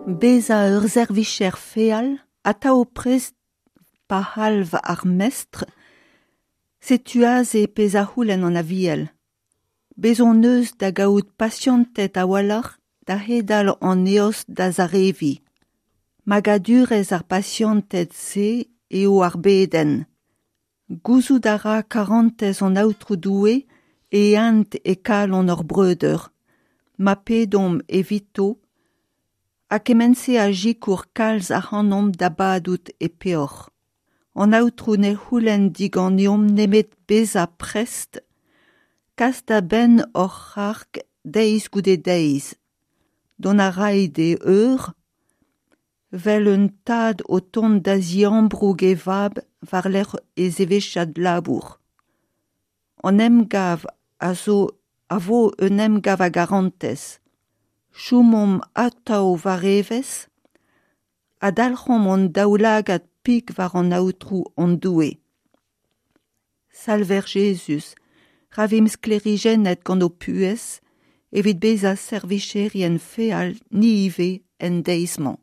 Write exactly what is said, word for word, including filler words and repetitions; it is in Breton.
Bezañ ur servijer feal, atav prest pa c'halv ar mestr, setu aze pezh a c'houlenn an Aviel. Bez' hon eus da gaout pasianted a-walc'h da c'hedal an eost da zareviñ. Magadurezh ar pasianted-se eo ar bedenn. Gouzout a ra karantez an Aotrou Doue e int e kalon hor breudeur, ma pedomp evito, ha kement-se a sikour kalz ac'hanomp da badout e peoc'h. An Aotrou ne c'houlenn diganeomp nemet bezañ prest, kas da benn hor c'harg deiz goude deiz. Dont a ray d'e eur, 'vel un tad o tont da ziambroug e vab war-lerc'h e zevezhiad labour. An emgav a zo a vo un emgav a garantez. Chomomp atav war evezh ha dalc'homp hon daoulagad pik war an Aotrou hon Doue. Salver Jezuz, ra vimp sklêrijennet gant ho puhez evit bezañ servijerien feal ni ivez en deiz-mañ.